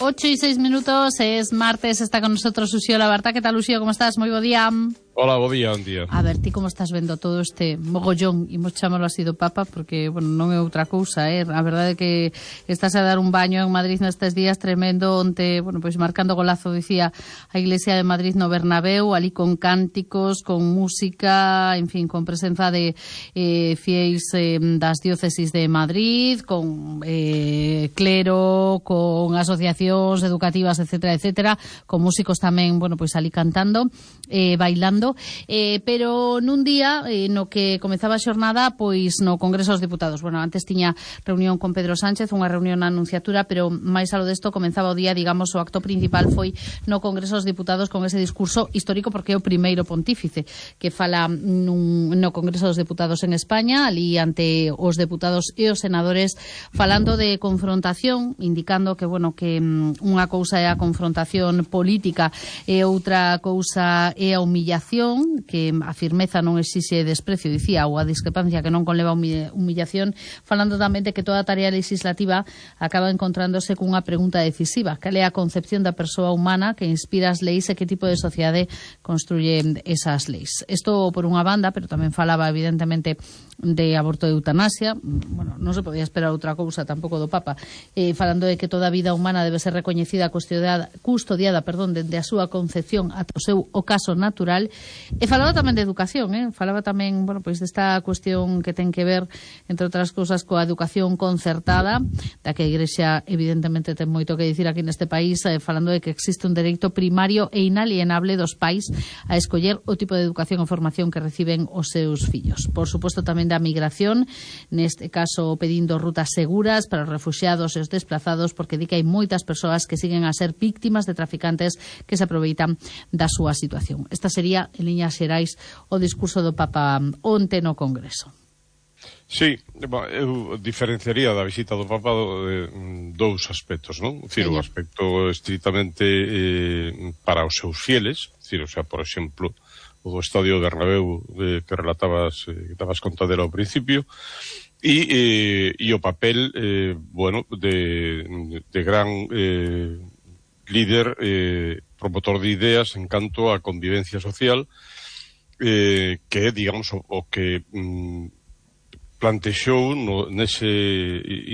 8:06, es martes, está con nosotros Uxío Labarta. ¿Qué tal, Uxío? ¿Cómo estás? Moi bo día. Hola, bo día, un día. A ver, ti como estás vendo todo este mogollón, imos chamalo así do Papa, porque, bueno, non é outra cousa, A verdade é que estás a dar un baño en Madrid nestes días tremendo, onte, bueno, pois marcando golazo, dicía, a Iglesia de Madrid no Bernabéu, ali con cánticos, con música, en fin, con presenza de fieis das diócesis de Madrid, con clero, con asociacións educativas, etcétera, etcétera, con músicos tamén, bueno, pois ali cantando, bailando, pero nun día no que comezaba a xornada pois no Congreso dos Deputados. Bueno, antes tiña reunión con Pedro Sánchez, unha reunión na Anunciatura, pero máis alo desto comenzaba o día, digamos, o acto principal foi no Congreso dos Deputados con ese discurso histórico, porque é o primeiro pontífice que fala no Congreso dos Deputados en España, ali ante os deputados e os senadores, falando de confrontación, indicando que, bueno, que unha cousa é a confrontación política e outra cousa é a humillación, que a firmeza non exixe desprecio, dicía, ou a discrepancia que non conleva humillación, falando tamén de que toda a tarea legislativa acaba encontrándose cunha pregunta decisiva: cal é a concepción da persoa humana que inspira as leis e que tipo de sociedade construye esas leis. Isto por unha banda, pero tamén falaba evidentemente de aborto e eutanasia. Bueno, non se podía esperar outra cousa tampouco do Papa, falando de que toda a vida humana debe ser recoñecida, custodiada, dende a súa concepción ata o seu ocaso natural. E falaba tamén de educación, falaba tamén, bueno, pois desta cuestión que ten que ver, entre outras cousas, coa educación concertada, da que a Igrexa evidentemente ten moito que dicir aquí neste país, falando de que existe un dereito primario e inalienable dos pais a escoller o tipo de educación e formación que reciben os seus fillos. Por suposto tamén da migración, neste caso pedindo rutas seguras para os refuxiados e os desplazados, porque di que hai moitas persoas que siguen a ser víctimas de traficantes que se aproveitan da súa situación. Esta sería, en liñas xerais, o discurso do Papa onte no Congreso. Sí, eu diferenciaría da visita do Papa dous aspectos, non? Dicir, o aspecto estritamente para os seus fieles, dicir, o sea, por exemplo, o do Estadio Bernabéu que relatabas, que estabas contadero ao principio, e o papel, bueno, de gran líder, promotor de ideas en canto a convivencia social, que é, digamos, o que plantexou nese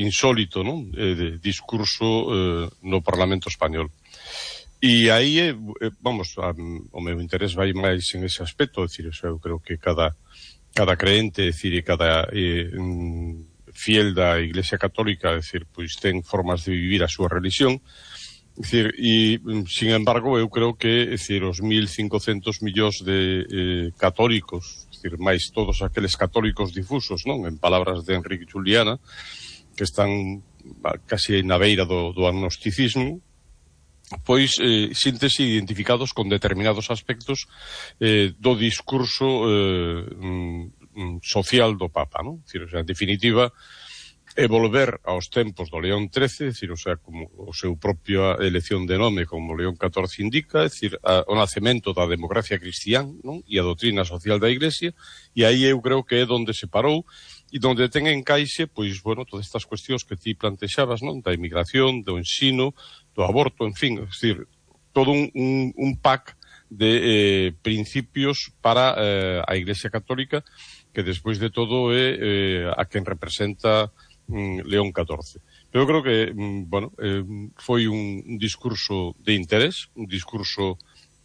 insólito, non? Discurso no Parlamento Español. E aí, vamos, o meu interés vai máis en ese aspecto, é dicir, eu creo que cada creente, é dicir, e cada fiel da Iglesia Católica, é dicir, pois ten formas de vivir a súa religión. É dicir, e, sin embargo, eu creo que, é dicir, os 1.500 millóns de católicos, é dicir, máis todos aqueles católicos difusos, non? En palabras de Enrique Juliana, que están casi na beira do agnosticismo, pois síntese identificados con determinados aspectos do discurso social do Papa, non? É dicir, o sea, en definitiva, é volver aos tempos do León XIII, é dicir, o sea, como o seu propia elección de nome como León XIV indica, é dicir, o nacemento da democracia cristián, non? E a doutrina social da Iglesia, e aí eu creo que é donde se parou e donde ten encaixe, pois, bueno, todas estas cuestións que ti plantexabas, non? Da inmigración, do ensino, do aborto, en fin, é dicir, todo un pack de principios para a Iglesia Católica, que despois de todo é a quen representa León XIV. Pero eu creo que, bueno, foi un discurso de interés, un discurso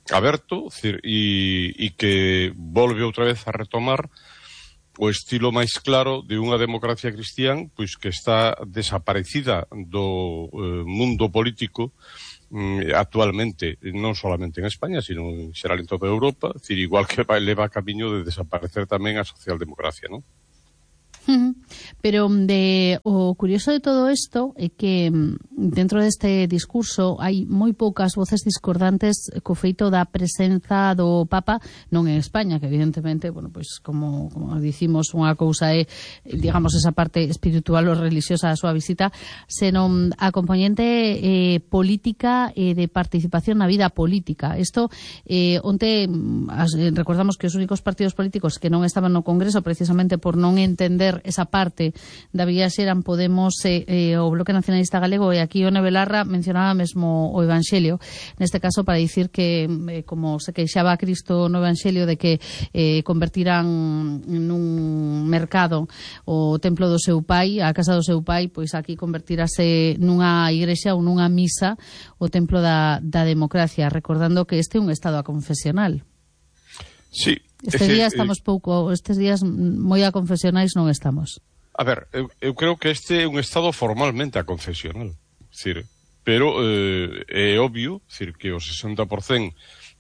aberto, e que volve outra vez a retomar o estilo máis claro de unha democracia cristián, pois que está desaparecida do mundo político actualmente, non solamente en España, sino en xeral en toda Europa, decir, igual que leva camiño de desaparecer tamén a socialdemocracia, non? Pero o curioso de todo isto é que dentro deste discurso hai moi poucas voces discordantes co feito da presenza do Papa non en España, que evidentemente, bueno, pois como dicimos, unha cousa é, digamos, esa parte espiritual ou religiosa da súa visita, senón a componente política e de participación na vida política. Isto, onte recordamos que os únicos partidos políticos que non estaban no Congreso precisamente por non entender esa parte da viaxe eran Podemos e o Bloque Nacionalista Galego, e aquí Ione Belarra mencionaba mesmo o Evanxelio, neste caso para dicir que como se queixaba a Cristo no Evanxelio de que convertirán nun mercado o templo do seu pai, a casa do seu pai, pois aquí convertirase nunha igrexa ou nunha misa o templo da democracia, recordando que este é un estado aconfesional. Sí. Estes días moi aconfesionais non estamos. A ver, eu creo que este é un estado formalmente aconfesional, pero é obvio, que o 60%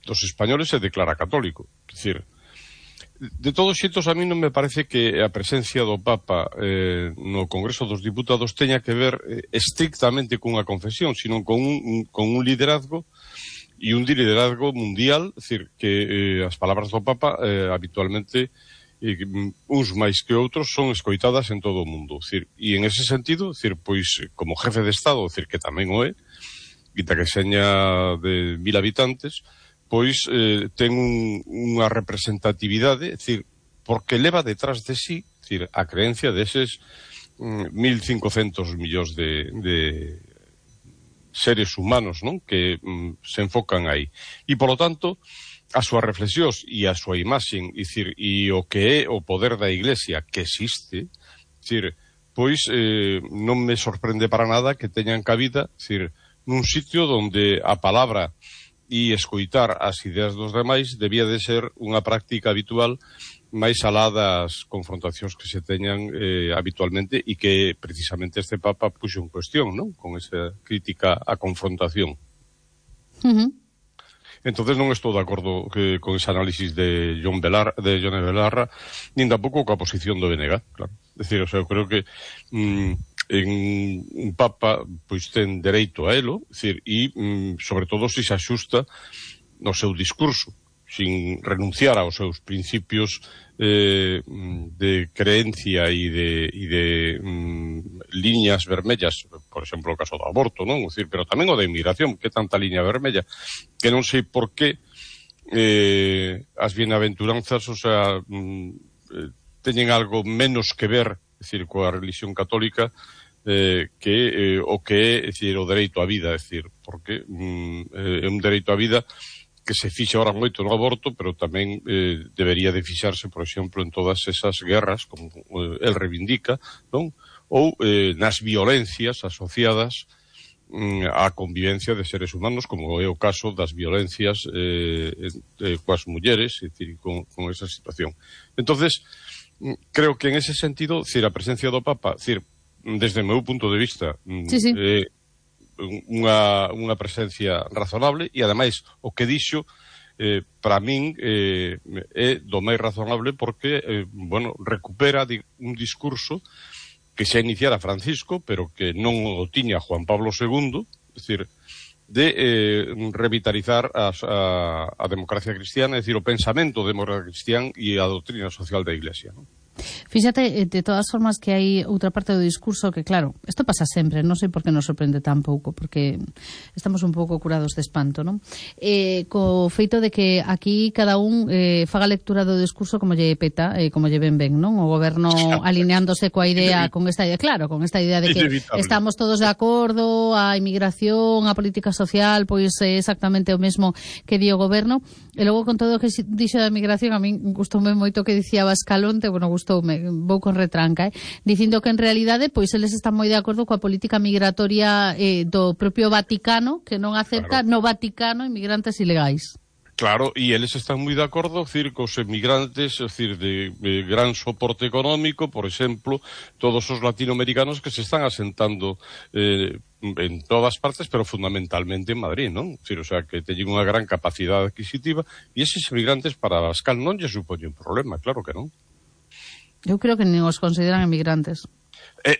dos españoles se declara católico. De todos xeitos, a mí non me parece que a presencia do Papa no Congreso dos Diputados teña que ver estrictamente cunha confesión, sino con un liderazgo e un liderazgo mundial, que as palabras do Papa habitualmente, uns máis que outros, son escoitadas en todo o mundo. E en ese sentido, pois, como jefe de Estado, que tamén o é, e que seña de 1000 habitantes, pois ten unha representatividade, porque leva detrás de sí, a creencia deses 1.500 millóns de seres humanos, non? Que se enfocan aí. E, polo tanto, as súas reflexións e a súa imaxen, e o que é o poder da Iglesia que existe, pois non me sorprende para nada que teñan cabida, nun sitio onde a palabra e escoitar as ideas dos demais debía de ser unha práctica habitual máis alá das confrontacións que se teñan habitualmente, e que precisamente este Papa puxo en cuestión, non? Con esa crítica á confrontación. Entonces non estou de acordo con ese análisis de Ione Belarra, nin tampouco coa posición do BNG, claro. Eu creo que un Papa pois ten dereito a elo, e sobre todo se axusta no seu discurso, sin renunciar aos seus principios de creencia e de liñas vermellas, por exemplo, o caso do aborto, non? Pero tamén o da inmigración, que tanta liña vermella, que non sei por que as bienaventuranzas, teñen algo menos que ver, coa religión católica, que o que é, o dereito á vida, porque é un dereito á vida que se fixa ahora moito no aborto, pero tamén debería de fixarse, por exemplo, en todas esas guerras, como el reivindica, non? Ou nas violencias asociadas á convivencia de seres humanos, como é o caso das violencias coas mulleres, con esa situación. Entonces, creo que en ese sentido, a presencia do Papa, desde o meu punto de vista, unha presencia razonable, e ademais o que dixo para min é do máis razonable, porque recupera un discurso que xa iniciara Francisco, pero que non o tiña Juan Pablo II, de revitalizar a democracia cristiana, o pensamento democrático cristián e a doutrina social da Iglesia, non? Fíxate, de todas formas, que hai outra parte do discurso que, claro, isto pasa sempre, non sei por que nos sorprende tan pouco, porque estamos un pouco curados de espanto, non? Co feito de que aquí cada un faga lectura do discurso como lle peta, como lle ben, non? O goberno alineándose coa idea, con esta idea, claro, con esta idea de que estamos todos de acordo, a inmigración, a política social, pois é exactamente o mesmo que di o goberno, e logo con todo o que dixo da migración, a min gustoume moito que dicía Bascalonte, gustoume, vou con retranca, dicindo que en realidade pois eles están moi de acordo coa política migratoria do propio Vaticano, que non acepta no Vaticano inmigrantes ilegais. Claro, e eles están moi de acordo, cos emigrantes, de gran soporte económico, por exemplo, todos os latinoamericanos que se están asentando en todas partes, pero fundamentalmente en Madrid, non? Que teñen unha gran capacidade adquisitiva, e eses emigrantes para Abascal non lle supoñen problema, claro que non. Eu creo que nin os consideran emigrantes.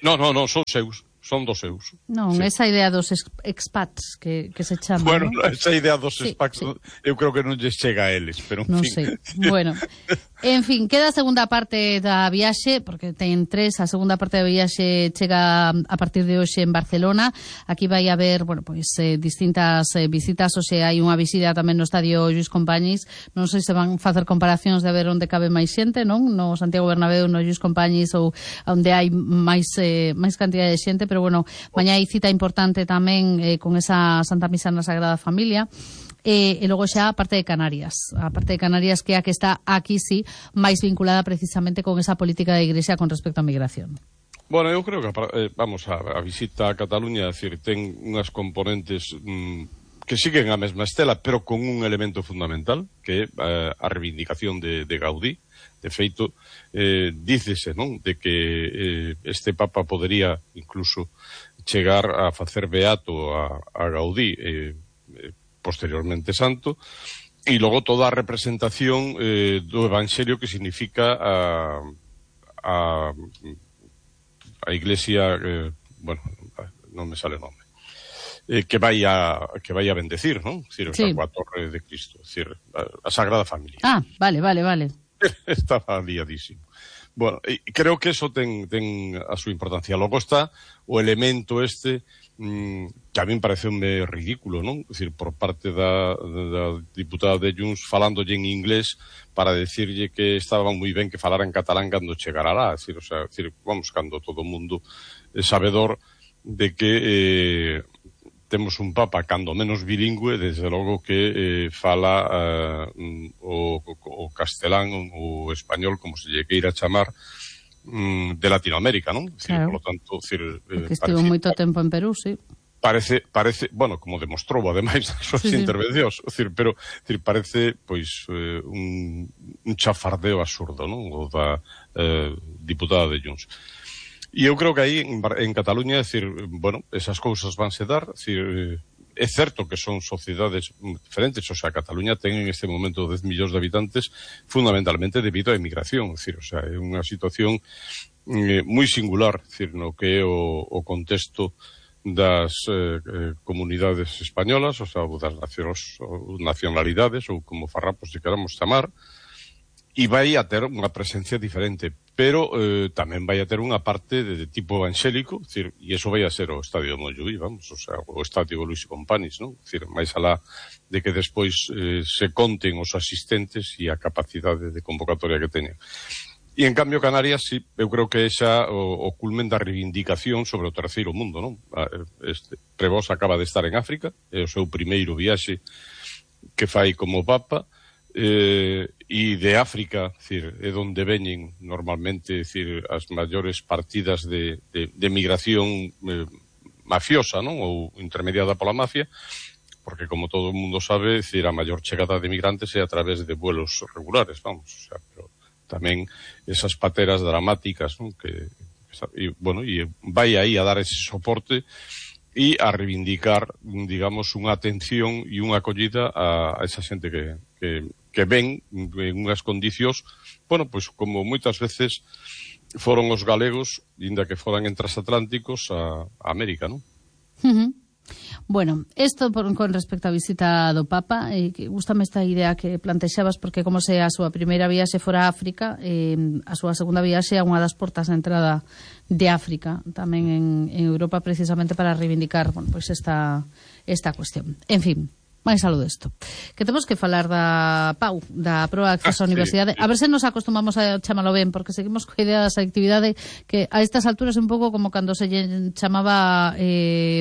Non, son seus. Son dos seus. Non, esa idea dos expats que se chama, esa idea dos expats, eu creo que non lles chega a eles, pero en fin. Non sei. Bueno, En fin, queda a segunda parte da viaxe, porque ten 3, a segunda parte da viaxe chega a partir de hoxe en Barcelona. Aquí vai haber, bueno, pois distintas visitas, o sea, hai unha visita tamén no estadio Lluís Companys. Non sei se van facer comparacións de ver onde cabe máis xente, non? No Santiago Bernabéu, no Lluís Companys ou onde hai máis cantidad de xente, pero bueno, mañá hai cita importante tamén con esa Santa Misa na Sagrada Familia. E logo xa a parte de Canarias, que é a que está aquí sí máis vinculada precisamente con esa política da Igrexa con respecto á migración. Bueno, eu creo que a visita a Cataluña, é dicir, ten unhas componentes que siguen a mesma estela, pero con un elemento fundamental, que é a reivindicación de Gaudí. De feito, dícese, non, de que este Papa podería incluso chegar a facer beato a Gaudí, posteriormente santo, e logo toda a representación do Evangelio que significa a Iglesia, bueno, non me sale o nome, que vai a bendecir, non? Decir, sí. A Torre de Cristo, decir, a Sagrada Familia. Ah, vale. Estaba liadísimo. Bueno, creo que eso ten a súa importancia. Logo está o elemento que a min pareceume ridículo, non? É dicir, por parte da diputada de Junts falándolle en inglés para decirlle que estaba moi ben que falara en catalán cando chegara lá. É dicir, vamos, cando todo o mundo é sabedor de que temos un papa cando menos bilingüe, desde logo que fala o castelán ou español, como se lle queira chamar, de Latinoamérica, non? Claro. Por lo tanto, porque estivo moito tempo en Perú, sí. Parece, bueno, como demostrou ademais nas súas intervencións, pero parece pois un chafardeo absurdo, non? O da diputada de Junts. E eu creo que aí en Cataluña, bueno, esas cousas vanse dar, é certo que son sociedades diferentes, o sea, Cataluña ten en este momento 10 millóns de habitantes fundamentalmente debido á emigración, é unha situación moi singular, no que é o contexto das comunidades españolas, o sea, das nacionalidades, ou como farrapos se queramos chamar, e vai a ter unha presencia diferente, pero tamén vai a ter unha parte de tipo evangélico, e iso vai a ser o estadio de Montjuïc, vamos, o sea, o estadio Lluís Companys, non? Máis alá de que despois se conten os asistentes e a capacidade de convocatoria que teñen. E en cambio Canarias, sí, eu creo que esa o culmen da reivindicación sobre o terceiro mundo, non? Prevost acaba de estar en África, é o seu primeiro viaxe que fai como Papa, e de África, é onde veñen normalmente as maiores partidas de migración mafiosa, non? Ou intermediada pola mafia, porque como todo o mundo sabe, a maior chegada de migrantes é a través de vuelos regulares, vamos, o sea, pero tamén esas pateras dramáticas, non? Bueno, e vai aí a dar ese soporte e a reivindicar, digamos, unha atención e unha acollida a esa xente que ven en unhas condicións, bueno, pois como moitas veces foron os galegos, inda que foran en transatlánticos a América, non? Bueno, isto con respecto á visita do Papa, que gústame esta idea que plantexabas, porque como se a súa primeira viaxe fora a África, a súa segunda viaxe é unha das portas de entrada de África, tamén en Europa, precisamente para reivindicar, bueno, pois esta cuestión. En fin, máis algo desto. Que temos que falar da PAU, da proba de acceso á universidade. A ver se nos acostumamos a chamalo ben, porque seguimos coa idea da selectividade que a estas alturas é un pouco como cando se chamaba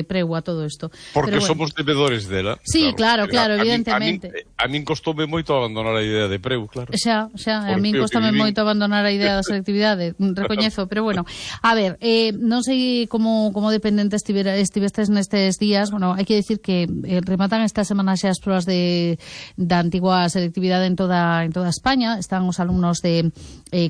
preu a todo isto. Porque bueno, somos debedores dela. Sí, claro, evidentemente. A min costoume moito abandonar a idea de preu, claro. Xa, a min costoume moito abandonar a idea da selectividade, recoñezo, pero bueno. A ver, non sei como dependente estivestes nestes días, bueno, hai que decir que rematan esta semana xa as probas da antigua selectividade en toda España. Están os alumnos de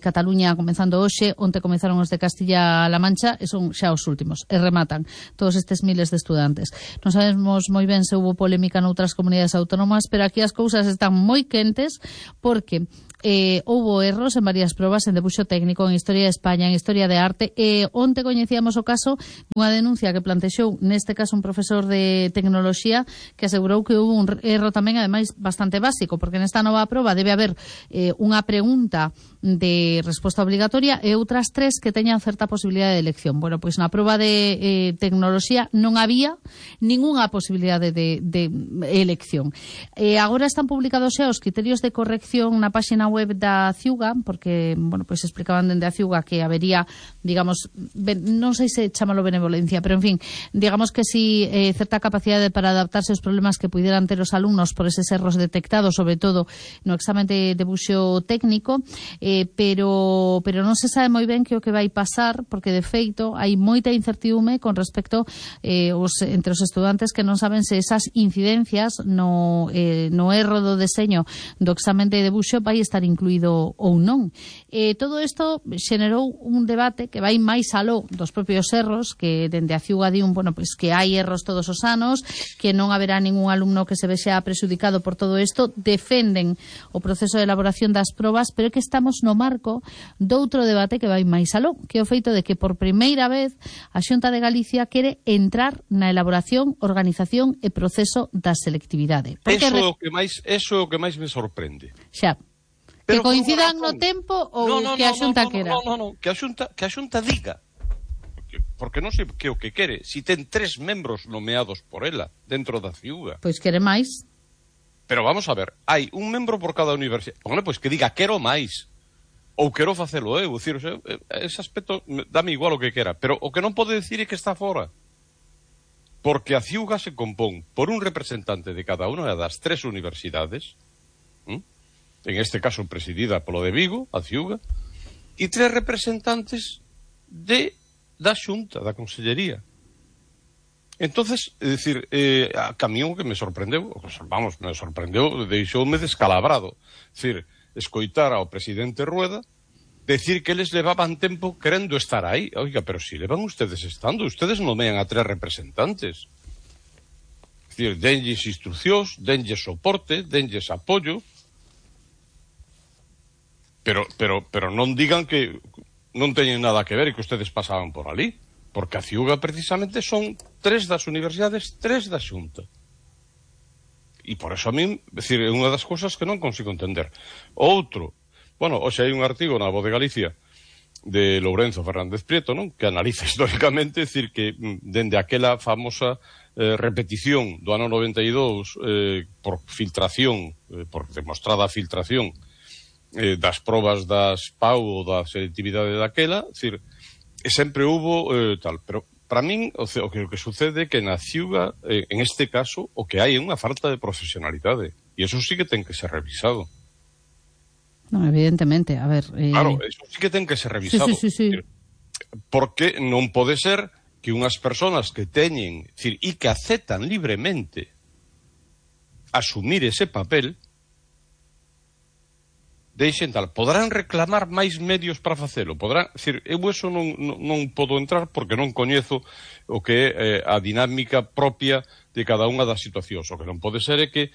Cataluña comenzando hoxe, onte comenzaron os de Castilla-La Mancha, e son xa os últimos, e rematan todos estes miles de estudantes. Non sabemos moi ben se houbo polémica noutras comunidades autónomas, pero aquí as cousas están moi quentes, porque houbo erros en varias probas, en debuxo técnico, en Historia de España, en Historia de Arte, e onte coñecíamos o caso dunha denuncia que plantexou neste caso un profesor de tecnoloxía que asegurou que houve un erro tamén, ademais, bastante básico, porque nesta nova proba debe haber unha pregunta de resposta obligatoria e outras 3 que teñan certa posibilidade de elección. Bueno, pois na proba de tecnoloxía non había ningunha posibilidade de elección. Agora están publicados xa os criterios de corrección na páxina web da Ciuga, porque, bueno, pois explicaban dende a Ciuga que habería, digamos, non sei se chamalo benevolencia, pero, en fin, digamos que si certa capacidade para adaptarse aos problemas que pudieran ter os alumnos por eses erros detectados, sobre todo no examen de debuxo técnico, pero non se sabe moi ben que o que vai pasar, porque, de feito, hai moita incertidume con respecto entre os estudantes que non saben se esas incidencias no erro do deseño do examen de debuxo vai estar incluído ou non. Todo isto xenerou un debate que vai máis aló dos propios erros, que dende a Ciuga di bueno, pois que hai erros todos os anos, que non haberá ningún alumno que se vexa prexudicado por todo isto, defenden o proceso de elaboración das probas, pero que estamos no marco doutro debate que vai máis aló, que é o feito de que por primeira vez a Xunta de Galicia quere entrar na elaboración, organización e proceso da selectividade. Eso é o que máis me sorprende. Xa. Que coincidan no tempo ou que a Xunta quera? Non, que a Xunta diga. Porque non sei que o que quere. Si ten 3 membros nomeados por ela dentro da Ciuga. Pois quere máis. Pero vamos a ver, hai un membro por cada universidade. Bueno, pois que diga quero máis. Ou quero facelo eu. Decir, ese aspecto dame igual o que quera. Pero o que non pode decir é que está fora. Porque a Ciuga se compón por un representante de cada unha das 3 universidades, en este caso presidida polo de Vigo, a Ciuga, e 3 representantes da Xunta, da Consellería. Entonces, é dicir, a camión que me sorprendeu, deixoume descalabrado. É dicir, escoitar ao presidente Rueda decir que eles levaban tempo querendo estar aí. Oiga, pero si levan ustedes estando, ustedes nomean a 3 representantes. É dicir, denlles instruccións, denlles soporte, denlles apoio, pero non digan que non teñen nada que ver e que ustedes pasaban por ali, porque a Ciuga precisamente son 3 das universidades, 3 da Xunta. E por eso a min, decir, é unha das cousas que non consigo entender. Outro, bueno, hoxe hai un artigo na Voz de Galicia de Lourenzo Fernández Prieto, non? Que analiza históricamente, decir, que dende aquela famosa repetición do ano 92 por filtración, por demostrada filtración das probas das PAU ou da selectividade daquela, decir, sempre hubo tal, pero para min o que sucede é que na Ciuga, en este caso, o que hai é unha falta de profesionalidade, e eso sí que ten que ser revisado. Non, evidentemente, a ver... Claro, eso sí que ten que ser revisado. Sí. Porque non pode ser que unhas persoas que teñen, decir, e que aceptan libremente asumir ese papel, deixen tal, poderán reclamar máis medios para facelo, poderán, decir, eu eso non podo entrar porque non coñezo o que é a dinámica propia de cada unha das situacións. O que non pode ser é que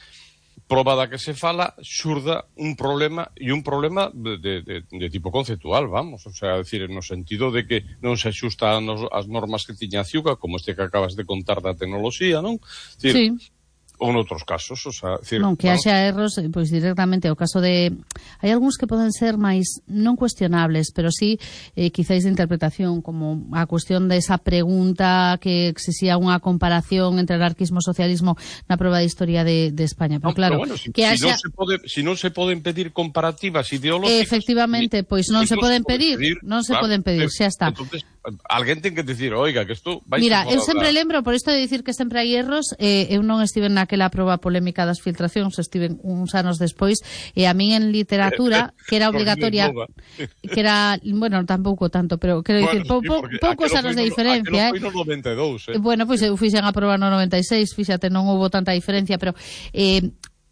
proba da que se fala xurda un problema e un problema de tipo conceptual, vamos, o sea, decir, no sentido de que non se axusta as normas que tiña a Ciuga, como este que acabas de contar da tecnoloxía, non? Decir, sí. Ou noutros casos, o sea, decir, non, que haxa erros, pois directamente o caso de... Hai algúns que poden ser máis non cuestionables, pero sí quizáis de interpretación, como a cuestión desa pregunta que exixía unha comparación entre anarquismo e socialismo na proba de historia de España. Pero claro, pero bueno, que haxa... si non se poden pedir comparativas ideológicas... Efectivamente, pois non se poden pedir, non se poden pedir, xa está. Entonces, alguén ten que dicir, oiga, que isto... Mira, eu sempre lembro, por isto de dicir que sempre hai erros, eu non estive naquela proba polémica das filtracións, estive uns anos despois, e a min en literatura, que era obligatoria, que era, bueno, tampouco tanto, pero quero dicir, poucos anos de diferencia, Aquelo foi no 92, Bueno, pois eu fixen a proba no 96, fíxate, non houve tanta diferencia, pero...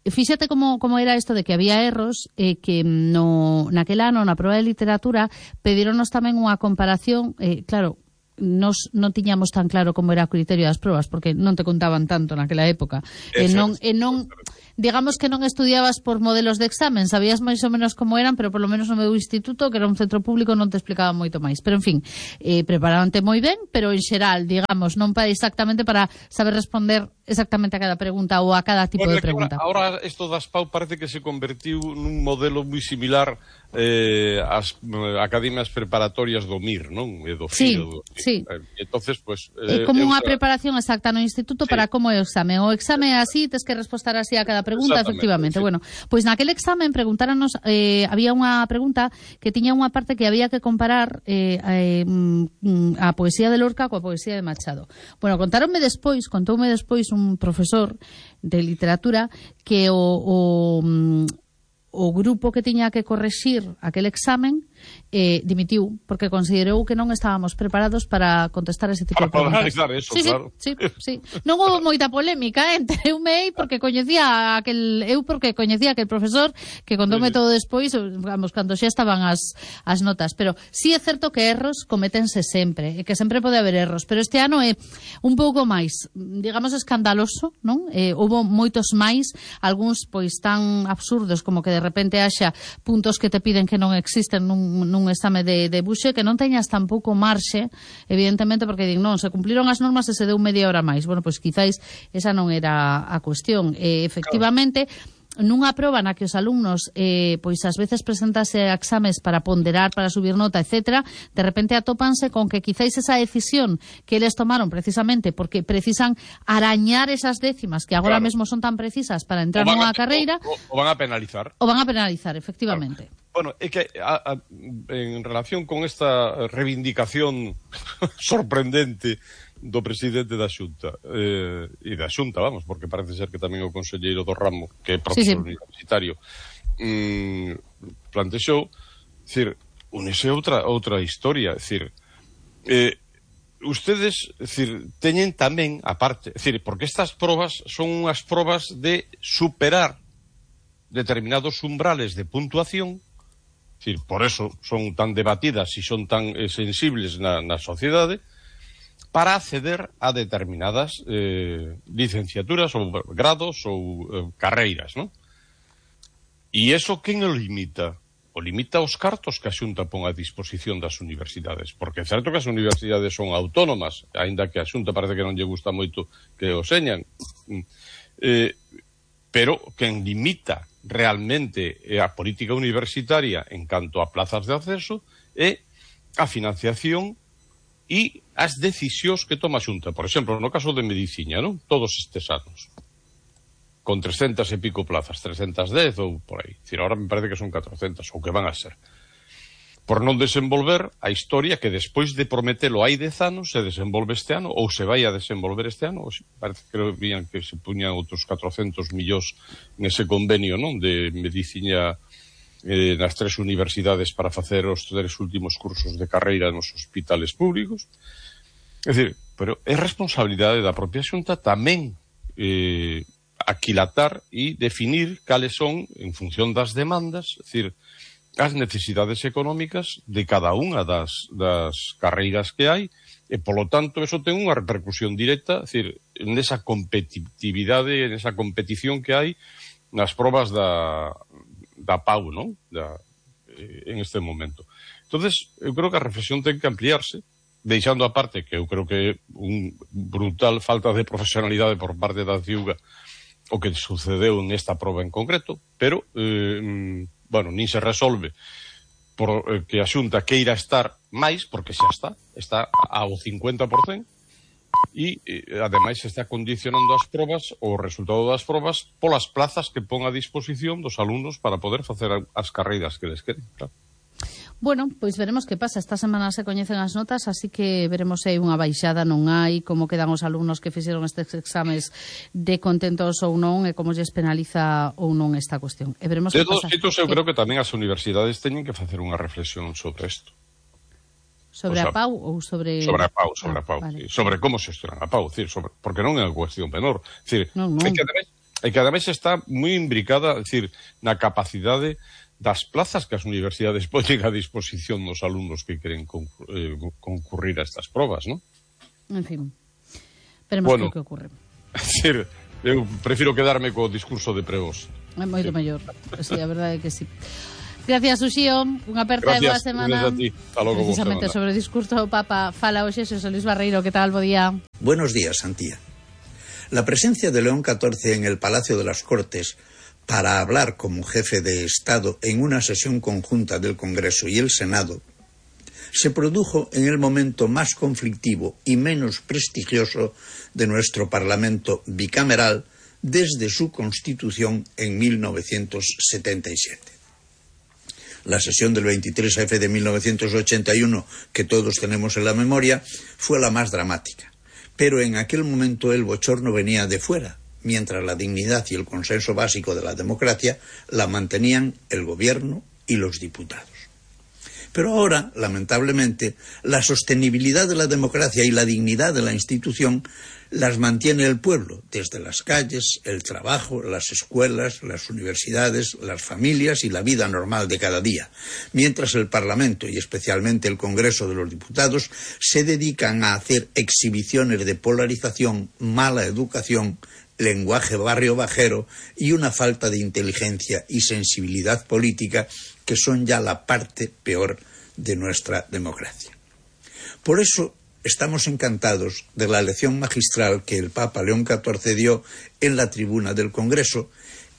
fíxate como era isto de que había erros, que naquel ano, na proba de literatura, pedironos tamén unha comparación, claro, nos non tiñamos tan claro como era o criterio das probas, porque non te contaban tanto naquela época. Non, digamos que non estudiabas por modelos de examen, sabías máis ou menos como eran, pero por lo menos no meu instituto, que era un centro público, non te explicaba moito máis. Pero, en fin, preparabante moi ben, pero en xeral, digamos, non para exactamente para saber responder exactamente a cada pregunta ou a cada tipo de pregunta. Ahora isto das PAU parece que se convertiu nun modelo moi similar ás academias preparatorias do MIR, non? E do FIO. Sí. Entonces, pues, como unha preparación exacta no instituto para como é o exame. O exame é así, tes que responder así a cada pregunta, efectivamente. Bueno, pois naquele examen preguntáranos, había unha pregunta que tiña unha parte que había que comparar a poesía de Lorca coa poesía de Machado. Bueno, contoume despois un profesor de literatura que o grupo que tiña que correxir aquel examen dimitiu porque considerou que non estábamos preparados para contestar ese tipo de preguntas. Eso, claro. Sí. Non houve moita polémica entre eu porque coñecía aquel profesor que contoume todo despois, vamos, cando xa estaban as notas, pero sí é certo que erros cométense sempre, e que sempre pode haber erros, pero este ano é un pouco máis, digamos, escandaloso, non? Houve moitos máis, algúns pois tan absurdos como que de repente haxa puntos que te piden que non existen nun exame de buxe, que non teñas tampouco marxe, evidentemente, porque din, non, se cumpliron as normas e se deu media hora máis. Bueno, pois quizáis esa non era a cuestión. Efectivamente, nunha proba na que os alumnos pois ás veces presentase exames para ponderar, para subir nota, etcétera, de repente atópanse con que quizáis esa decisión que eles tomaron precisamente porque precisan arañar esas décimas que agora mesmo son tan precisas para entrar nunha carreira, o van a penalizar. O van a penalizar, efectivamente. Claro. Bueno, é que en relación con esta reivindicación sorprendente do presidente da Xunta e da Xunta, vamos, porque parece ser que tamén o conselleiro do ramo, que é profesor universitario, plantexou, decir, unese outra historia, decir, ustedes, decir, teñen tamén aparte, decir, porque estas probas son unhas probas de superar determinados umbrales de puntuación. Es decir, por eso son tan debatidas e son tan sensibles na sociedade, para acceder a determinadas licenciaturas ou grados ou carreiras, non? E iso quen o limita? O limita os cartos que a Xunta pon a disposición das universidades, porque é certo que as universidades son autónomas, aínda que a Xunta parece que non lle gusta moito que o señan, pero quen limita realmente a política universitaria en canto a plazas de acceso é a financiación e as decisións que toma a Xunta. Por exemplo, no caso de medicina, non? Todos estes anos, con 300 e pico plazas, 310 ou por aí. Decir, ahora me parece que son 400, ou que van a ser. Por non desenvolver a historia que despois de prometelo hai 10 anos se desenvolve este ano, ou se vai a desenvolver este ano, ou parece que vían que se puñan outros 400 millóns nese convenio, non? De medicina nas 3 universidades para facer os 3 últimos cursos de carreira nos hospitales públicos. É dicir, pero é responsabilidade da propia Xunta tamén aquilatar e definir cales son, en función das demandas, é dicir, as necesidades económicas de cada unha das carreiras que hai, e, polo tanto, eso ten unha repercusión directa, é dicir, nesa competitividade, nesa competición que hai nas probas da PAU, non? En este momento. Entonces, eu creo que a reflexión ten que ampliarse, deixando aparte que eu creo que é un brutal falta de profesionalidade por parte da CIUGA o que sucedeu nesta proba en concreto, pero bueno, nin se resolve por que a Xunta queira estar máis, porque xa está ao 50%, e ademais está condicionando as probas, o resultado das probas, polas plazas que pon a disposición dos alumnos para poder facer as carreiras que les queren, claro. Bueno, pois veremos que pasa. Esta semana se coñecen as notas, así que veremos se hai unha baixada, non hai, como quedan os alumnos que fixeron estes exames de contentos ou non, e como lles penaliza ou non esta cuestión. E veremos que pasa. De todos xeitos, eu creo que tamén as universidades teñen que facer unha reflexión sobre isto. Sobre a PAU ou sobre... Sobre a PAU, vale. Sobre como se xestionan a PAU, porque non é unha cuestión menor. Non. É que ademais está moi imbricada, na capacidade das plazas que as universidades poñen a disposición dos alumnos que queren concurrir a estas probas, non? En fin, veremos que ocurre. Eu prefiro quedarme co discurso de pregos. É moito mellor, sí, a verdade é que sí. Gracias, Uxío. Unha aperta de boa semana. Precisamente sobre o discurso do Papa fala hoxe Xosé Luis Barreiro. Que tal, bo día? Buenos días, Antía. La presencia de León XIV en el Palacio de las Cortes para hablar como jefe de Estado en una sesión conjunta del Congreso y el Senado se produjo en el momento más conflictivo y menos prestigioso de nuestro Parlamento bicameral desde su constitución en 1977. La sesión del 23F de 1981, que todos tenemos en la memoria, fue la más dramática. Pero en aquel momento el bochorno venía de fuera, mientras la dignidad y el consenso básico de la democracia la mantenían el gobierno y los diputados. Pero ahora, lamentablemente, la sostenibilidad de la democracia y la dignidad de la institución las mantiene el pueblo, desde las calles, el trabajo, las escuelas, las universidades, las familias y la vida normal de cada día, mientras el Parlamento y especialmente el Congreso de los Diputados se dedican a hacer exhibiciones de polarización, mala educación, lenguaje barrio bajero y una falta de inteligencia y sensibilidad política que son ya la parte peor de nuestra democracia. Por eso estamos encantados de la lección magistral que el Papa León XIV dio en la tribuna del Congreso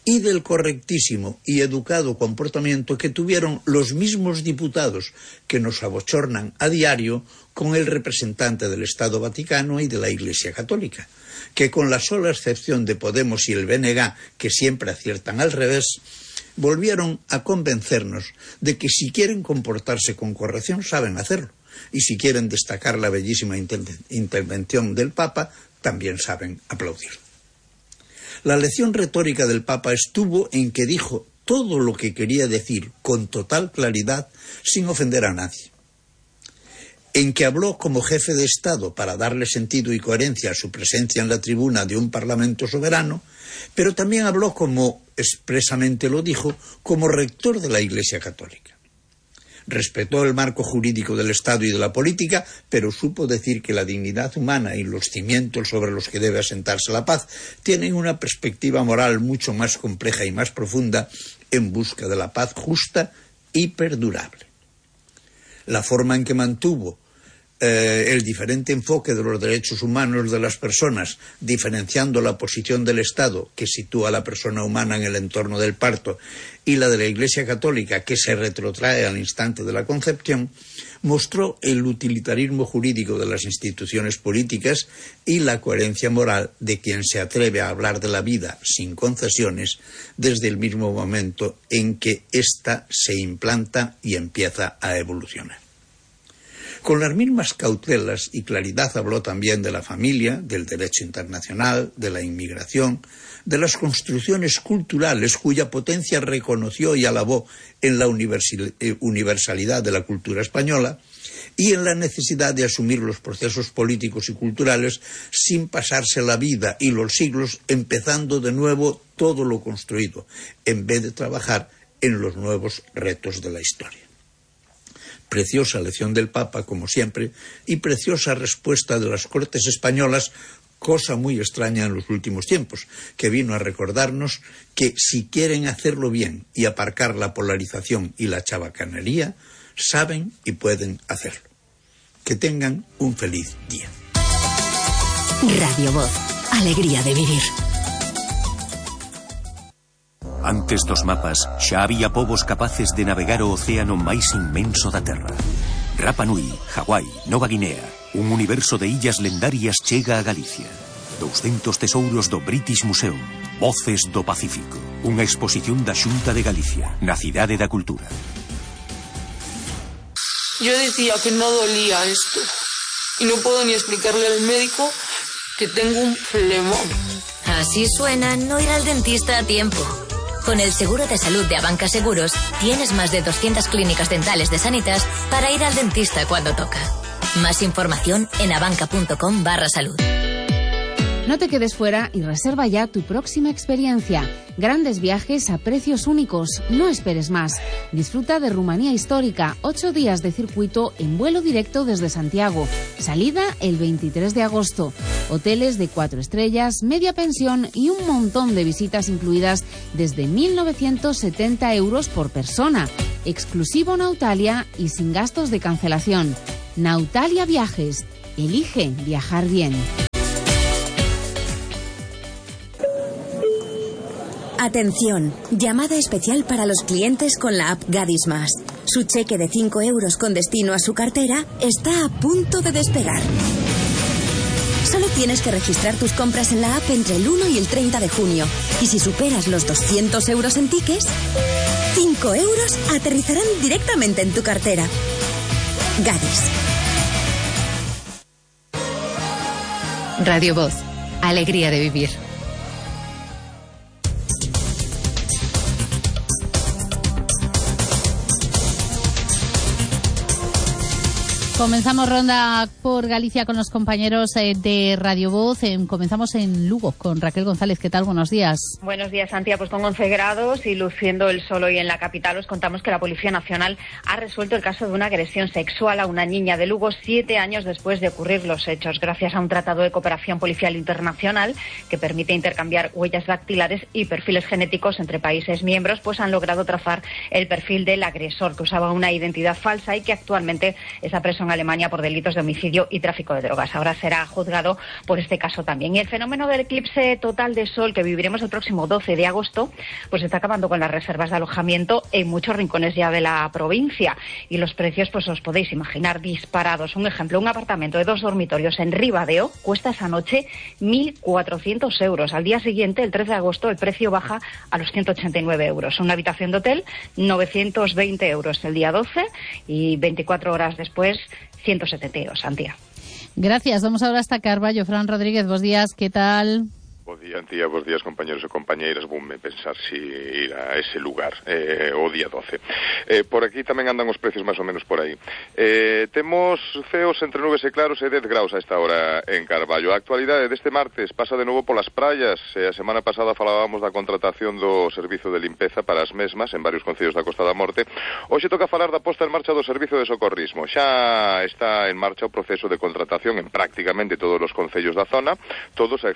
y del correctísimo y educado comportamiento que tuvieron los mismos diputados que nos abochornan a diario con el representante del Estado Vaticano y de la Iglesia Católica, que con la sola excepción de Podemos y el BNG, que siempre aciertan al revés, volvieron a convencernos de que si quieren comportarse con corrección saben hacerlo, y si quieren destacar la bellísima intervención del Papa, también saben aplaudir. La lección retórica del Papa estuvo en que dijo todo lo que quería decir con total claridad sin ofender a nadie, en que habló como jefe de Estado para darle sentido y coherencia a su presencia en la tribuna de un Parlamento soberano, pero también habló, como expresamente lo dijo, como rector de la Iglesia Católica. Respetó el marco jurídico del Estado y de la política, pero supo decir que la dignidad humana y los cimientos sobre los que debe asentarse la paz tienen una perspectiva moral mucho más compleja y más profunda en busca de la paz justa y perdurable. La forma en que mantuvo el diferente enfoque de los derechos humanos de las personas, diferenciando la posición del Estado, que sitúa a la persona humana en el entorno del parto, y la de la Iglesia Católica, que se retrotrae al instante de la concepción, mostró el utilitarismo jurídico de las instituciones políticas y la coherencia moral de quien se atreve a hablar de la vida sin concesiones desde el mismo momento en que ésta se implanta y empieza a evolucionar. Con las mismas cautelas y claridad habló también de la familia, del derecho internacional, de la inmigración, de las construcciones culturales cuya potencia reconoció y alabó en la universalidad de la cultura española y en la necesidad de asumir los procesos políticos y culturales sin pasarse la vida y los siglos empezando de nuevo todo lo construido, en vez de trabajar en los nuevos retos de la historia. Preciosa lección del Papa, como siempre, y preciosa respuesta de las Cortes españolas, cosa muy extraña en los últimos tiempos, que vino a recordarnos que si quieren hacerlo bien y aparcar la polarización y la chabacanería, saben y pueden hacerlo. Que tengan un feliz día. Radio Voz, alegría de vivir. Antes dos mapas, xa había povos capaces de navegar o océano máis inmenso da Terra. Rapa Nui, Hawái, Nova Guinea, un universo de illas lendarias chega a Galicia. 200 tesouros do British Museum, Voces do Pacífico, unha exposición da Xunta de Galicia, na Cidade da Cultura. Yo decía que no dolía esto y no puedo ni explicarle al médico que tengo un flemón. Así suena no ir al dentista a tiempo. Con el seguro de salud de Abanca Seguros, tienes más de 200 clínicas dentales de Sanitas para ir al dentista cuando toca. Más información en abanca.com/salud. No te quedes fuera y reserva ya tu próxima experiencia. Grandes viajes a precios únicos. No esperes más. Disfruta de Rumanía Histórica. 8 días de circuito en vuelo directo desde Santiago. Salida el 23 de agosto. Hoteles de 4 estrellas, media pensión y un montón de visitas incluidas desde 1.970 euros por persona. Exclusivo Nautalia y sin gastos de cancelación. Nautalia Viajes. Elige viajar bien. Atención, llamada especial para los clientes con la app Gadis Más. Su cheque de 5 euros con destino a su cartera está a punto de despegar. Solo tienes que registrar tus compras en la app entre el 1 y el 30 de junio. Y si superas los 200 euros en tickets, 5 euros aterrizarán directamente en tu cartera. Gadis. Radio Voz. Alegría de vivir. Comenzamos ronda por Galicia con los compañeros de Radio Voz. Comenzamos en Lugo con Raquel González. ¿Qué tal? Buenos días. Buenos días, Santiago. Pues con 11 grados y luciendo el sol hoy en la capital, os contamos que la Policía Nacional ha resuelto el caso de una agresión sexual a una niña de Lugo 7 años después de ocurrir los hechos, gracias a un tratado de cooperación policial internacional que permite intercambiar huellas dactilares y perfiles genéticos entre países miembros, pues han logrado trazar el perfil del agresor, que usaba una identidad falsa y que actualmente está preso en Alemania por delitos de homicidio y tráfico de drogas. Ahora será juzgado por este caso también. Y el fenómeno del eclipse total de sol que viviremos el próximo 12 de agosto, pues está acabando con las reservas de alojamiento en muchos rincones ya de la provincia. Y los precios, pues os podéis imaginar, disparados. Un ejemplo, un apartamento de 2 dormitorios en Ribadeo cuesta esa noche 1.400 euros. Al día siguiente, el 13 de agosto, el precio baja a los 189 euros. Una habitación de hotel, 920 euros el día 12 y 24 horas después, 172, Santiago. Gracias. Vamos ahora hasta Carballo. Fran Rodríguez, buenos días. ¿Qué tal? Bo día, Antía, bos días, compañeros e compañeiras. Voume pensar si ir a ese lugar o día 12. Por aquí tamén andan os precios máis ou menos por aí. Temos ceos entre nubes e claros e 10 graus a esta hora en Carballo. A actualidade deste martes pasa de novo polas praias. A semana pasada falábamos da contratación do servizo de limpeza para as mesmas en varios concellos da Costa da Morte. Hoxe toca falar da posta en marcha do servizo de socorrismo. Xa está en marcha o proceso de contratación en prácticamente todos os concellos da zona, todos a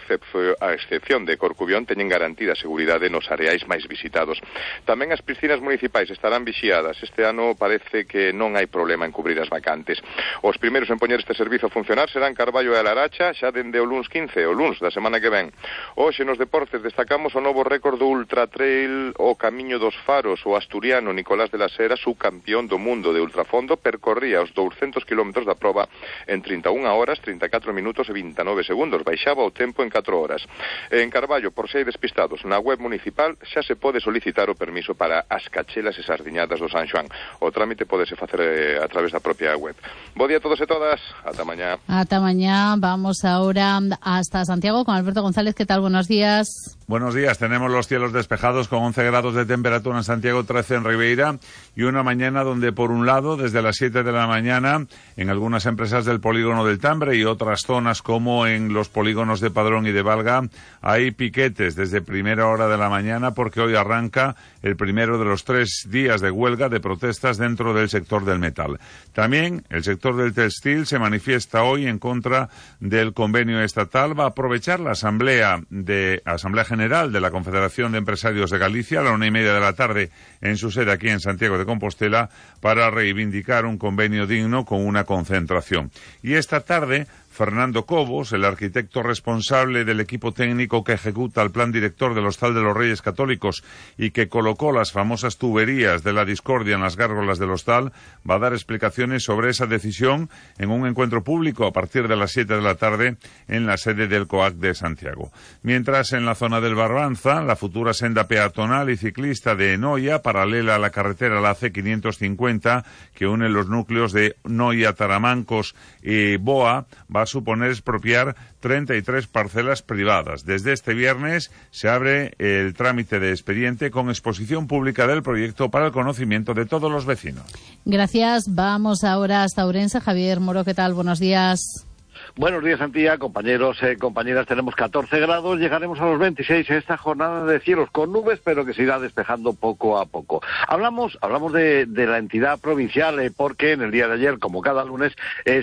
excepción de Corcubión teñen garantida a seguridade nos areais máis visitados. Tamén as piscinas municipais estarán vixiadas. Este ano parece que non hai problema en cubrir as vacantes. Os primeiros en poñer este servizo a funcionar serán Carballo e a Laracha xa dende o luns 15, o luns da semana que ven. Hoxe nos deportes destacamos o novo récord do Ultra Trail o Camiño dos Faros. O asturiano Nicolás de la Sera, subcampeón do mundo de ultrafondo, percorría os 200 km da proba en 31 horas, 34 minutos e 29 segundos. Baixaba o tempo en 4 horas. En Carballo, por se hai despistados, na web municipal xa se pode solicitar o permiso para as cachelas e sardiñadas do San Xoán. O trámite pódese facer a través da propia web. Bo día a todos e todas. Ata mañá. Ata mañá. Vamos ahora hasta Santiago con Alberto González. ¿Qué tal? Buenos días. Buenos días. Tenemos los cielos despejados con 11 grados de temperatura en Santiago, 13 en Ribeira y una mañana donde, por un lado, desde las 7 de la mañana, en algunas empresas del polígono del Tambre y otras zonas como en los polígonos de Padrón y de Valga, hay piquetes desde primera hora de la mañana porque hoy arranca el primero de los 3 días de huelga de protestas dentro del sector del metal. También el sector del textil se manifiesta hoy en contra del convenio estatal. Va a aprovechar la Asamblea General de la Confederación de Empresarios de Galicia a la 1:30 de la tarde en su sede aquí en Santiago de Compostela para reivindicar un convenio digno con una concentración. Y esta tarde Fernando Cobos, el arquitecto responsable del equipo técnico que ejecuta el plan director del Hostal de los Reyes Católicos y que colocó las famosas tuberías de la discordia en las gárgolas del hostal, va a dar explicaciones sobre esa decisión en un encuentro público a partir de las 7 de la tarde en la sede del COAC de Santiago. Mientras en la zona del Barbanza, la futura senda peatonal y ciclista de Noia, paralela a la carretera la C550, que une los núcleos de Noia, Taramancos y Boa, va a suponer expropiar 33 parcelas privadas. Desde este viernes se abre el trámite de expediente con exposición pública del proyecto para el conocimiento de todos los vecinos. Gracias. Vamos ahora hasta Ourense. Javier Moro, ¿qué tal? Buenos días. Buenos días, Antía, compañeros, compañeras. Tenemos 14 grados, llegaremos a los 26 en esta jornada de cielos con nubes, pero que se irá despejando poco a poco. Hablamos de la entidad provincial, porque en el día de ayer, como cada lunes,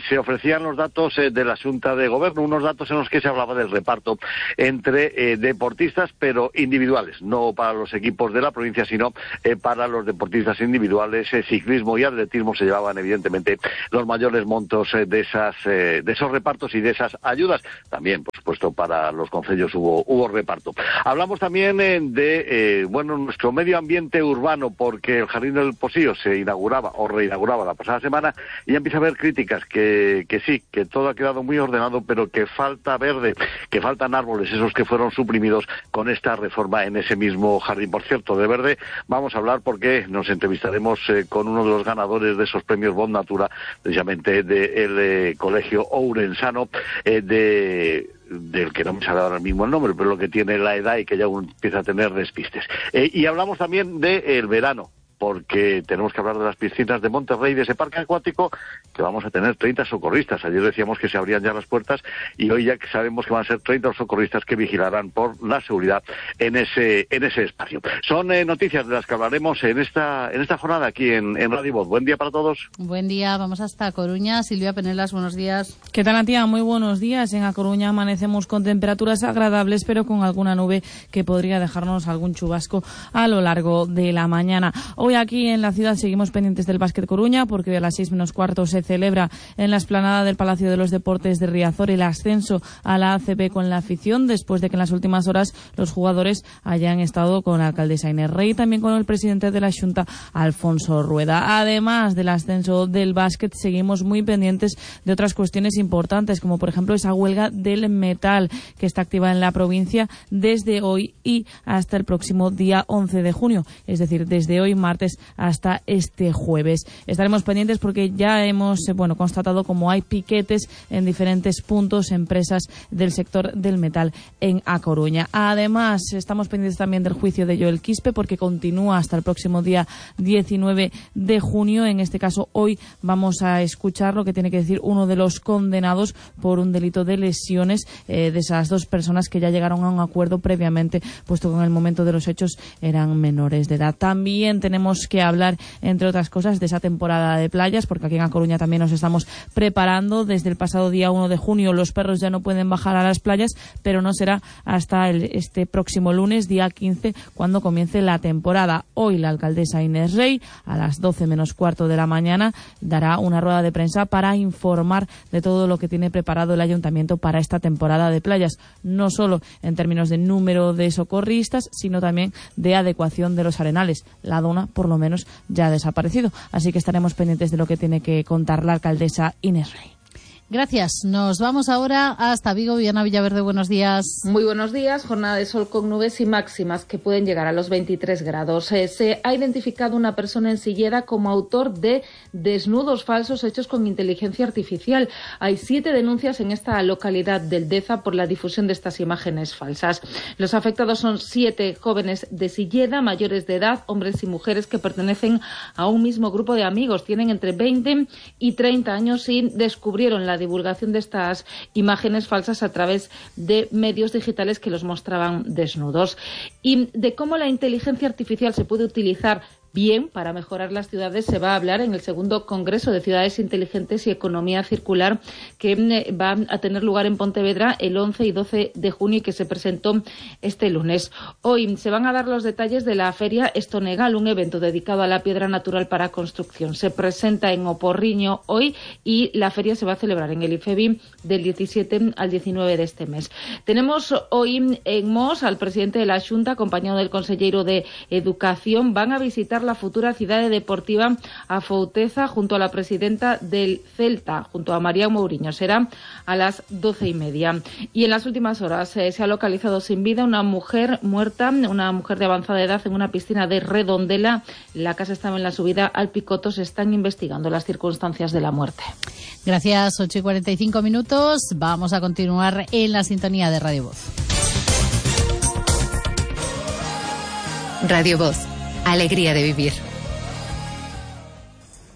se ofrecían los datos de la Xunta de Gobierno, unos datos en los que se hablaba del reparto entre deportistas, pero individuales, no para los equipos de la provincia, sino para los deportistas individuales. Ciclismo y atletismo se llevaban, evidentemente, los mayores montos de esos repartos repartos y de esas ayudas. También, por supuesto, para los concellos hubo reparto. Hablamos también de nuestro medio ambiente urbano, porque el Jardín del Posío se inauguraba o reinauguraba la pasada semana y ya empieza a haber críticas que sí, que todo ha quedado muy ordenado, pero que falta verde, que faltan árboles, esos que fueron suprimidos con esta reforma en ese mismo jardín. Por cierto, de verde vamos a hablar porque nos entrevistaremos con uno de los ganadores de esos premios Bon Natura, precisamente del Colegio Ourensano, del que no me sale ahora mismo el nombre, pero lo que tiene la edad y que ya empieza a tener despistes. Y hablamos también del verano, porque tenemos que hablar de las piscinas de Monterrey, de ese parque acuático, que vamos a tener 30 socorristas. Ayer decíamos que se abrían ya las puertas y hoy ya sabemos que van a ser 30 socorristas que vigilarán por la seguridad en ese espacio. Son noticias de las que hablaremos en esta jornada aquí en Radio Voz. Buen día para todos. Buen día, vamos hasta Coruña. Silvia Penelas, buenos días. ¿Qué tal, Antía? Muy buenos días. En A Coruña amanecemos con temperaturas agradables, pero con alguna nube que podría dejarnos algún chubasco a lo largo de la mañana. Hoy aquí en la ciudad seguimos pendientes del Básquet Coruña, porque a las 6:15 se celebra en la explanada del Palacio de los Deportes de Riazor el ascenso a la ACB con la afición, después de que en las últimas horas los jugadores hayan estado con la alcaldesa Inés Rey y también con el presidente de la Xunta, Alfonso Rueda. Además del ascenso del básquet, seguimos muy pendientes de otras cuestiones importantes, como por ejemplo esa huelga del metal que está activa en la provincia desde hoy y hasta el próximo día 11 de junio, es decir, desde hoy martes hasta este jueves. Estaremos pendientes porque ya hemos constatado como hay piquetes en diferentes puntos, empresas del sector del metal en A Coruña. Además, estamos pendientes también del juicio de Joel Quispe, porque continúa hasta el próximo día 19 de junio. En este caso, hoy vamos a escuchar lo que tiene que decir uno de los condenados por un delito de lesiones de esas dos personas que ya llegaron a un acuerdo previamente, puesto que en el momento de los hechos eran menores de edad. También tenemos que hablar, entre otras cosas, de esa temporada de playas, porque aquí en A Coruña también nos estamos preparando. Desde el pasado día 1 de junio los perros ya no pueden bajar a las playas, pero no será hasta este próximo lunes, día 15, cuando comience la temporada. Hoy la alcaldesa Inés Rey, a las 12 menos cuarto de la mañana, dará una rueda de prensa para informar de todo lo que tiene preparado el ayuntamiento para esta temporada de playas, no solo en términos de número de socorristas, sino también de adecuación de los arenales. La dona, por lo menos, ya ha desaparecido. Así que estaremos pendientes de lo que tiene que contar la alcaldesa Inés Rey. Gracias. Nos vamos ahora hasta Vigo. Viana Villaverde, buenos días. Muy buenos días. Jornada de sol con nubes y máximas que pueden llegar a los 23 grados. Se ha identificado una persona en Silleda como autor de desnudos falsos hechos con inteligencia artificial. Hay 7 denuncias en esta localidad del Deza por la difusión de estas imágenes falsas. Los afectados son 7 jóvenes de Silleda, mayores de edad, hombres y mujeres que pertenecen a un mismo grupo de amigos. Tienen entre 20 y 30 años y descubrieron la divulgación de estas imágenes falsas a través de medios digitales que los mostraban desnudos. Y de cómo la inteligencia artificial se puede utilizar bien para mejorar las ciudades se va a hablar en el segundo Congreso de Ciudades Inteligentes y Economía Circular, que va a tener lugar en Pontevedra el 11 y 12 de junio y que se presentó este lunes. Hoy se van a dar los detalles de la Feria Estonegal, un evento dedicado a la piedra natural para construcción. Se presenta en Oporriño hoy y la feria se va a celebrar en el IFEBI del 17 al 19 de este mes. Tenemos hoy en Mos al presidente de la Xunta, acompañado del consejero de Educación. Van a visitar la futura ciudad deportiva Afouteza junto a la presidenta del Celta, junto a María Mourinho. Será a las 12:30. Y en las últimas horas se ha localizado sin vida una mujer muerta, una mujer de avanzada edad, en una piscina de Redondela. La casa estaba en la subida al Picoto. Se están investigando las circunstancias de la muerte. Gracias, 8:45. Vamos a continuar en la sintonía de Radio Voz. Radio Voz. Alegría de vivir.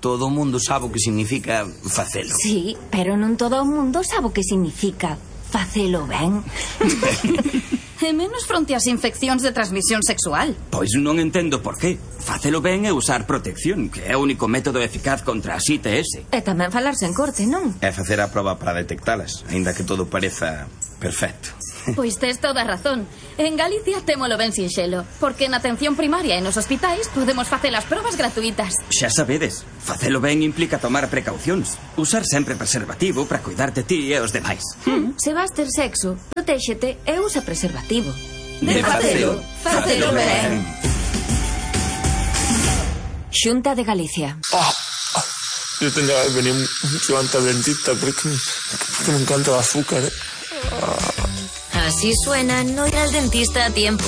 Todo o mundo sabe o que significa facelo. Sí, pero non todo o mundo sabe o que significa facelo ben. E menos fronte ás infeccións de transmisión sexual. Pois non entendo por qué. Facelo ben é usar protección, que é o único método eficaz contra as ITS. E tamén falarse en corte, non? É facer a proba para detectalas, aínda que todo pareza perfecto. Pois tes toda a razón. En Galicia témolo ben sinxelo, porque na atención primaria e nos hospitais podemos facer as probas gratuitas. Xa sabedes, facelo ben implica tomar precaucións. Usar sempre preservativo para cuidar de ti e os demais. Se vas ter sexo, protéxete e usa preservativo. De facelo, facelo ben. Xunta de Galicia. Yo tendría que venir mucho antes al dentista porque me encanta el azúcar. Así suena no ir al dentista a tiempo.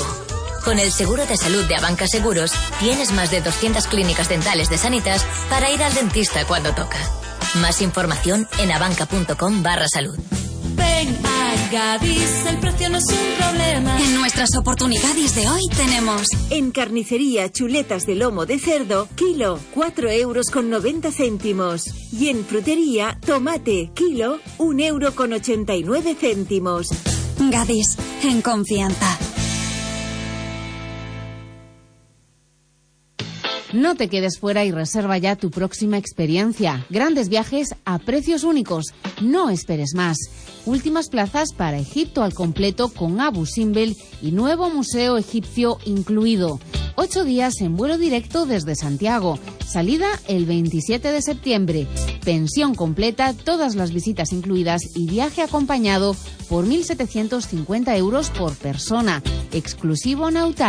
Con el seguro de salud de Abanca Seguros, tienes más de 200 clínicas dentales de Sanitas para ir al dentista cuando toca. Más información en abanca.com/salud. Ven a Gadis, el precio no es un problema. En nuestras oportunidades de hoy tenemos... En carnicería, chuletas de lomo de cerdo, kilo, 4,90 €. Y en frutería, tomate, kilo, 1,89 €. Gadis, en confianza. No te quedes fuera y reserva ya tu próxima experiencia. Grandes viajes a precios únicos. No esperes más. Últimas plazas para Egipto al completo con Abu Simbel y nuevo museo egipcio incluido. 8 días en vuelo directo desde Santiago. Salida el 27 de septiembre. Pensión completa, todas las visitas incluidas y viaje acompañado por 1.750 € por persona. Exclusivo Nauta.